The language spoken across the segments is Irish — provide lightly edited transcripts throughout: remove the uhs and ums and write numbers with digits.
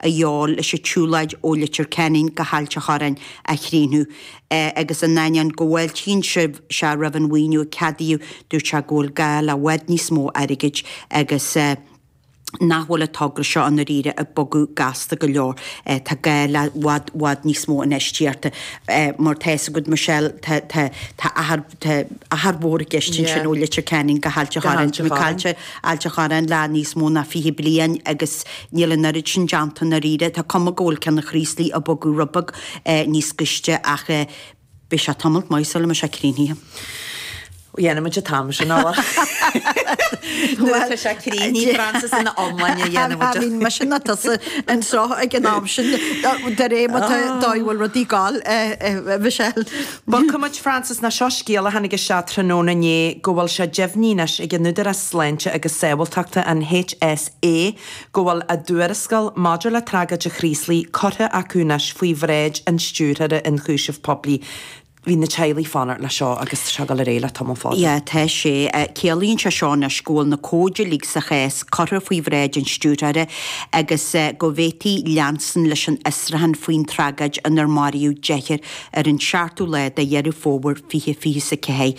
A dhíobháil leis an tsiúlóid ó Leitir Ceanainn go hAilt a' Chorráin a chríochnú agus in ainneoin go bhfáiltíonn sé roimh an mhaoiniú a ceadaíodh, dúirt sé go bhfuil gá le i bhfad níos mó airgid agus nach bhfuil an togra seo i ndáiríre ag bogadh gasta go leor. Tá gá le i bhfad, bhfad níos mó infheistíochta. Mar tá fhios agat Michelle, tá, tá, tá achar, tá achar mhór i gceist ansin ó Leitir Ceanainn go hAilt a' Chorráin. Tá muid caillte Ailt a' Chorráin le níos mó ná 20 bliain agus Níl an oiread sin déanta i ndáiríre. Tá cuma go bhfuil ceann an Chraoslaigh ag bogadh rud beag níos gaiste ach beidh sé tamalt maith sula mbeidh sé críochnaithe. Dhéanfaidh muid an t-am sin, a Nuair atá sé críochnaithe, Frances, ina iomláine a dhéanfaidh muid. I mean, mise ná tusa anseo ag an am sin de réir mar tá dóigh bhfuil rudaí ag gabháil, Michelle. Bogfaidh muid, Frances, ná seo scéal a tháinig isteach tráthnóna inné go bhfuil sé deimhnithe anois ag an Údarás Sláinte agus Sábháilteachta, an HSE, é go bhfuil a dtuarascáil maidir le tragóid an Chraoslaigh curtha acu anois faoi bhráid an Stiúrthóra Ionchúiseamh Poiblí. Bhí na teaghlaigh ag fanacht le seo agus tá sé ag dul ar aghaidh le tamall fada. Yeah, tá sé. Ciallaíonn sé seo anois go bhfuil na comhaid uilig sa chás curtha faoi bhráid an Stiúrthóra agus go bhféadfaí leanstan leis an fhiosrúchán faoin tragóid inar maraíodh deichniúr ar an seachtú lá de Dheireadh Fómhair 2024.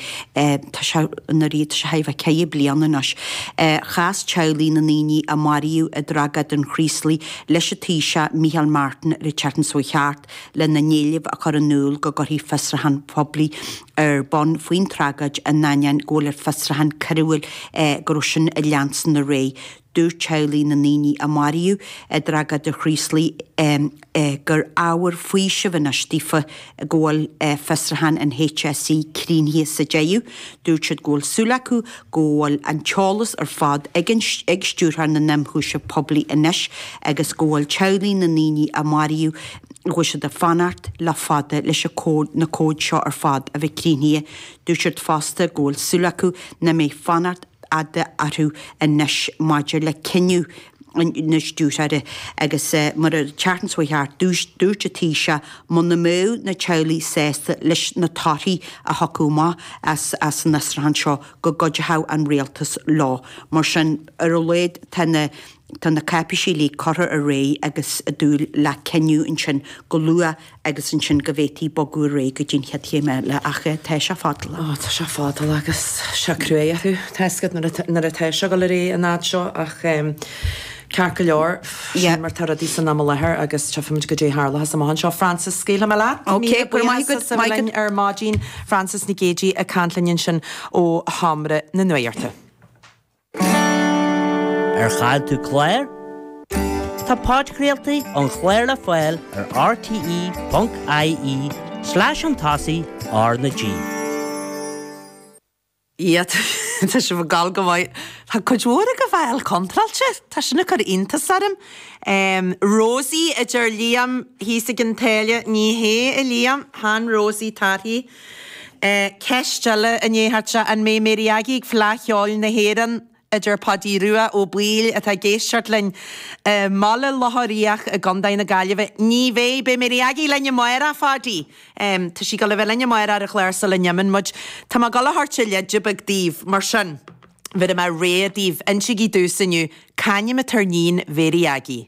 Tá sé i ndáiríre, tá sé thar a bheith ceithre bliana anois. Chas teaghlaigh na ndaoine a maraíodh i dtragóid an Chraoslaigh leis an Taoiseach Micheál Martin ar an tseachtain seo chuaigh thart lena n-éileamh a chur in iúl go gcuirfí fiosrúchán poiblí ar bun faoin tragóid in ainneoin go bhfuil an fiosrúchán coiriúil go raibh sin ag leanstan ar aghaidh. Dúirt teaghlaigh na ndaoine a maraíodh i dtragóid an Chraoslaigh gur ábhar faoisimh anois daofa go bhfuil fiosrúchán an HSE críochnaithe sa deireadh. Dúirt siad go bhfuil súil acu go bhfuil an t-eolas ar fad ag ag Stiúrthóir na nImchúiseamh Poiblí anois agus go bhfuil teaghlaigh na ndaoine a maraíodh go bhfuil siad ag fanacht le fada leis na comhaid seo ar fad a bheith críochnaithe. Dúirt siad fosta go bhfuil súil acu nach mbeidh fanacht fhada orthu anois maidir le cinneadh na stiúrthóra agus mar an tseachtain seo chuaigh thart dúirt an Taoiseach muna mbeadh na teaghlaigh sásta leis na torthaí a thiocfadh amach as an fhiosrúchán seo go gcuideodh an rialtas leo. Mar sin ar a laghad tá na tá na cáipéisí uilig curtha ar aghaidh agus ag dúil le cinneadh ansin go luath agus ansin go bhféadfaí bogadh ar aghaidh go dtí an chéad chéim eile ach tá sé fadálach. Ó, tá sé fadálach agus tá sé cruaidh orthu, tá fhios agat nuair nuair atá sé ag dul ar aghaidh an fhad seo ach ceart go leor, sin mar tá rudaí san am i láthair agus tchífimid goidé a tharlóchas amach anseo. Frances, scaoilfidh mé leat. Ok, go raibh maith agat, maith agat. linn ar maidin, Frances Nic Géadaigh ag caint linn ansin ó Sheomra na Nuachta. Ar chaill tú clár? Tá podchraoltaí an chláir le fáil ar rte.ie slash chun tosaigh R na G. Yeah, tá sibh ag gabháil go maith. Tá cuid mhór agaibh á fháil contráilte. Tá sin ag cur iontas orm. Rosie, a deir Liam thíos ag an tSáile. Ní hé, a Liam. Chan Rosie torthaí. Ceist eile i ndiaidh theacht isteach, an mbeidh Mary Aggie ag Fleadh Cheoil na hÉireann? a deir Paidí Rua Ó Baoill atá ag éisteacht linn i mBaile Locha Riach i gContae na Gaillimhe. Ní bheidh, beidh Mary Aggie linn amárach, a Phaidí. Tá sí ag dul a bheith linn amárach ar an chlár sula n-imíonn muid. Tá mé ag dul a thabhairt leide beag daoibh, mar sin, bhéarfaidh mé rogha daoibh, insígí domhsa inniu, c'ainm atá ar níon Mhary Aggie?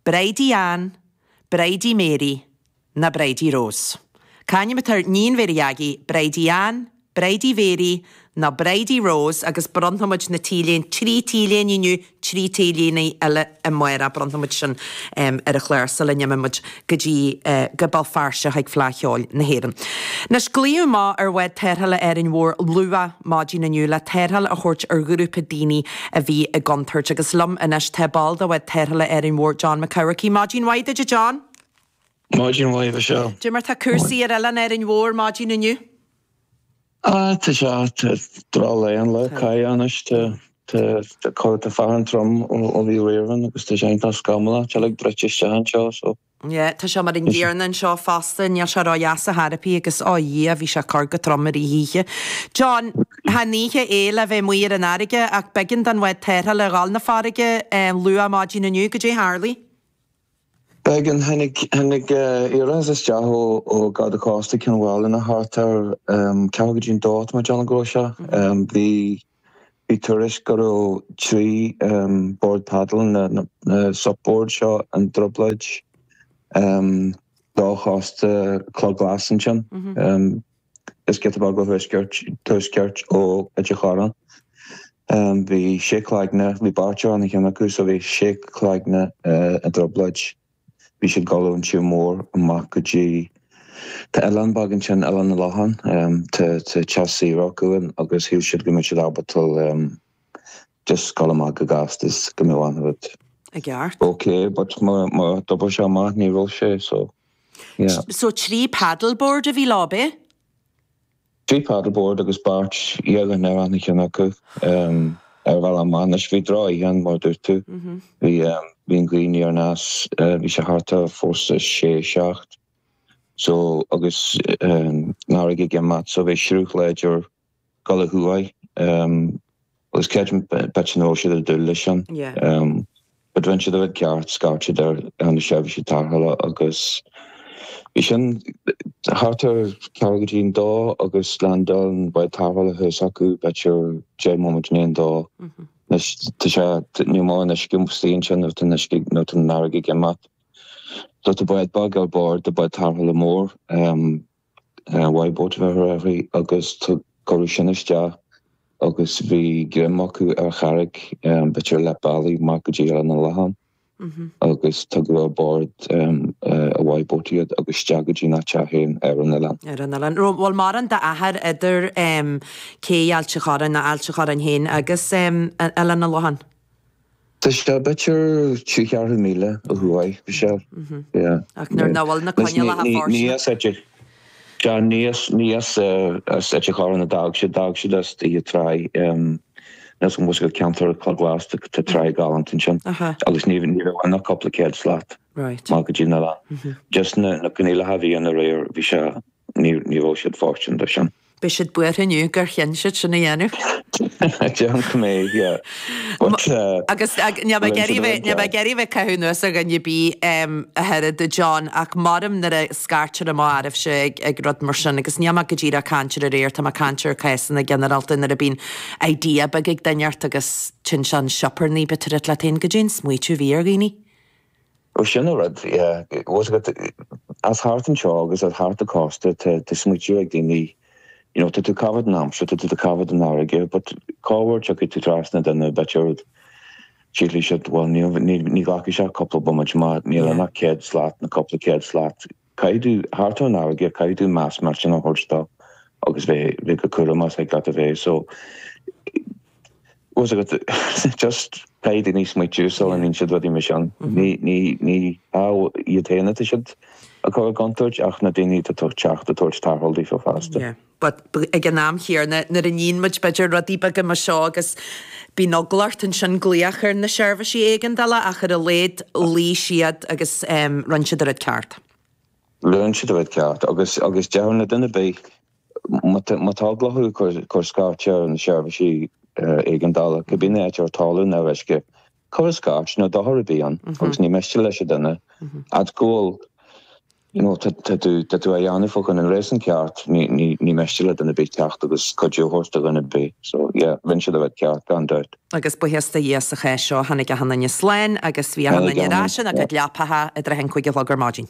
Bridie Ann, Bridie Mary, ná Bridie Rose. C'ainm atá ar níon Mhary Aggie, Bridie Ann, Bridie Mhary nó Bridie Rose agus bronnfaidh muid na t-léine, 3 t-léine inniu, 3 t-léine eile amárach, bronnfaidh muid sin ar an chlár sula n-imíonn muid go dtí go Béal Feirste chuig Fleadh Cheoil na hÉireann. Anois, glaodh amach ar bhád tarrthála Árainn Mhór luath maidin inniu le tarrtháil a thabhairt ar ghrúpa daoine a bhí i gcontúirt agus liom anois tá ball de bhád tarrthála Árainn Mhór, John McCourcey. Maidin mhaith duit a John! Maidin mhaith, a Mhichelle. Cad é mar tá cúrsaí ar oileán Árainn Mhór maidin inniu? Ah, tá sé, tá drochlá an lá caith anois, tá, tá, tá, tá fearthainn trom ó bhí aréir ann agus tá sé iontach scamallach, tá uilig druidte isteach anseo so. Yeah, tá sé mar an gcéanna anseo fosta, níl sé ródheas ar chor ar bith agus, ó Dhia, bhí sé ag cur go trom i rith na hoíche. John, chan oíche é le bheith amuigh ar an fharraige ach b'éigean don bhád tarrthála a dhul 'na farraige luath maidin inniu, goidé a tharlaigh? B'éigean. Tháinig, tháinig iarratas isteach ó, ó Garda Cósta Cionn Mhálanna thart ar ceathrú go dtí an dó, tá mé ag déanamh go raibh sé. Bhí, Bhí tuairisc go raibh 3 bord paddle, na sup boards seo, i dtrioblóid do chósta Cloch Ghlas ansin. Is giota beag ó thuaisceart, tuaisceart ó Ailt an Chorráin. Bhí sé cloigne, bhí beirt ar achan cheann acu, so bhí sé cloigne i dtrioblóid. Bhí siad ag dul ón tír mór amach go dtí, tá oileán beag ansin, Oileán na Lochán, tá teach saoire acu ann agus shíl siad go mbeadh siad ábalta just dul amach go gasta is go mbeadh an rud I gceart. ok but mar a d'oibir sé amach ní raibh sé so yeah. So 3 paddleboard a bhí leo, ab é? 3 paddleboard agus beirt dhéag ar achan cheann acu ar bhealach amach. Anois bhí droch-oíche ann mar a dúirt tú. Bhí bhí an ghaoth aniar aneas, bhí sé thart ar fórsa sé, seacht so agus an fharraige ag imeacht so bhí sruth láidir dul ó thuaidh. Agus creidim b'fhéidir nach raibh siad ag dúil leis sin. But rinne siad a rud ceart, scairt siad ar na seirbhísí tarrthála agus bhí sin thart ar ceathrú go dtí an dó agus landáil an bád tarrthála thuas acu b'fhéidir 10 móimint i ndiaidh an dó. Anois tá sé, níl mórán uisce istigh ansin nuair atá an uisce, nuair atá an fharraige ag imeacht. So tá bád beag ar bord, tá bád tarrthála mór. Y boat a bheith uirthi agus cuireadh sin isteach agus bhí greim acu ar charraig b'fhéidir leath bealaigh amach go dtí Oileán na Lochán agus tugadh ar bord an Y boat iad agus isteach go dtí an teach féin ar an oileán. Ar an oileán. Bhfuil mórán d'achar idir cé Ailt an Chorráin, nó Ailt an Chorráin féin agus Oileán na Lochán? Tá sé b'fhéidir trí cheathrú míle ó thuaidh, Michelle. Yeah. Ach nuair nach bhfuil na coinníollacha fóirsteanach. Ní as Ailt, sea, ní as, ní as, as Ailt an Chorráin a d'fhág siad, d'fhág siad as Fiche Trá, níl 's agam ceantar Chloch Ghlas, tá trá galánta ansin agus ní, ní raibh ann ach cúpla céad slat amach go dtí an oileán. Just na, na coinníollacha a bhí ann aréir, bhí sé, ní, ní raibh siad fóirsteanach dó sin. Beidh siad buartha inniu gur chinn siad sin a dhéanamh. Déarfainn go mbeidh, yeah. But, Agus níl mé ag iarraidh bheith, níl mé ag iarraidh bheith ag caitheamh anuas ar dhuine ar bith ach oiread, a John, ach maram nuair a scairtear amach oraibhse ag, ag rud mar sin, agus níl mé go díreach ag caint ar aréir, tá mé ag caint ar cásanna ginearálta nuair a bíonn idea beag ag duine ort agus téann sé an sioparnaí, bítear ag leat féin, goidé an smaoitiú a bhí ar dhaoine. Ó sin an rud, yeah. Bhfuil 's agat, as thart anseo agus as thart an cósta, tá tá smaoitiú ag daoine, you know, tá tú ag caitheamh den aimsir, tá tú ag caitheamh den fharraige, but cá huair tiocfaidh tú trasna duine, b'fhéidir, sílfidh siad, bhuel, ní, ní, ní ghlacfaidh sé cúpla bomaite má níl ann ach céad slat nó cúpla céad slat. Caithfidh tú, thart ar an fharraige, caithfidh tú meas millteanach a thabhairt dó agus bheith, bheith go cúramach is thig leat a bheith. So, bhfuil 's agat, just caithfidh daoine smaoitiú sula ndéanann siad rudaí mar sin. Ní, ní, ní hea iad féin atá siad a chur i gcontúirt ach na daoine atá ag teacht ag tabhairt tarrtháil daofa fosta. Yeah. But ag an am chéanna, nuair a níonn muid b'fhéidir rudaí beaga mar seo agus bíonn eagla ort ansin glaoch ar na seirbhísí éigeandála ach ar a laghad luigh siad agus rinne siad an rud ceart. Rinne siad an rud ceart agus agus déarfainn le duine ar bith má tá má tá eagla orthu cuir cuir scairt ar na seirbhísí éigeandála, cibé an áit ar talamh nó ar uisce, cuir scairt, níl dochar ar bith ann agus ní miste leis an duine fhad go bhfuil You know, tá tú, tá tú á dhéanamh fá choinne an réasún ceart, ní, ní, ní miste le duine ar bith teacht agus cuidiú a thabhairt do dhuine ar bith. So, yeah, rinne siad an rud ceart, gan dabht. Agus buíochas do Dhia sa chás seo, tháinig achan duine slán agus bhí achan duine ar ais ina gcuid leapacha i dtrátha an cúig a chlog ar maidin.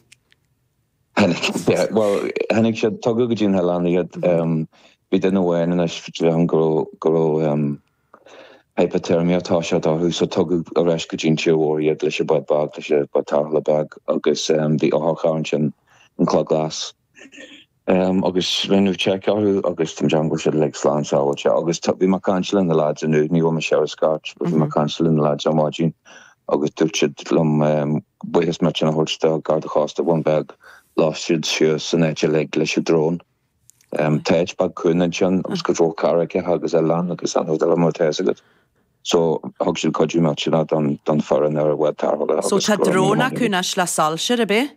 Tháinig, yeah, bhuel, tháinig siad, tugadh go dtí an hoileán iad, bhí duine amháin anois, déarfainn go raibh, go raibh, Hypothermia atá sé orthu so tugadh ar ais go dtí an tír mhór iad leis an bád beag, leis an bád tarrthála beag agus bhí otharcharr ansin, an Cloch Glas. Agus rinneadh check orthu agus tá mé ag déanamh go bhfuil siad uilig slán sábháilte agus bhí mé ag caint le na lads inniu, ní raibh mise ar an scairt but bhí mé ag caint le na lads ar maidin agus dúirt siad liom buíochas millteanach a thabhairt do Garda Chósta Bhun Beag, lasc siad suas an áit uilig leis an drone. Tá áit beag cúng ansin agus cuid mhór carraigeacha agus oileán agus an rud eile mar atá fhios agat. So thug siad cuidiú millteanach don don foireann ar an bhád tarrthála So agus tá go raibh drón míle acu maith acu. anois le soilsear, ab é?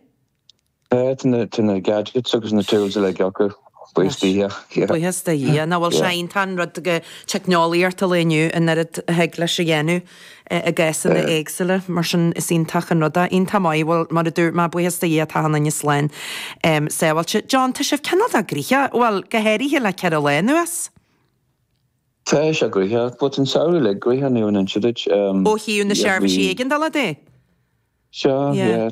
Tá, tá na tá na gadgets agus na tools uilig acu. Buíochas do Dhia, yeah. Buíochas do Dhia. Nach bhfuil sé Yeah. iontach an rud go teicneolaíocht an lae inniu an oiread a thig leis a dhéanamh i gcásanna éagsúla. Mar sin is iontach an rud é. Iontach maith. Bhuel, mar a dúirt mé, buíochas do Dhia tá achan duine slán sábháilte. John, tá sibh cineál de gnoitheach, bhuel, go háirithe le ceithre lá anuas. Tá sé gnoitheach, but an samhradh uilig gnoitheach, ní raibh an inse duit. Ó thaobh na seirbhísí éigeandála de? Sea, yeah.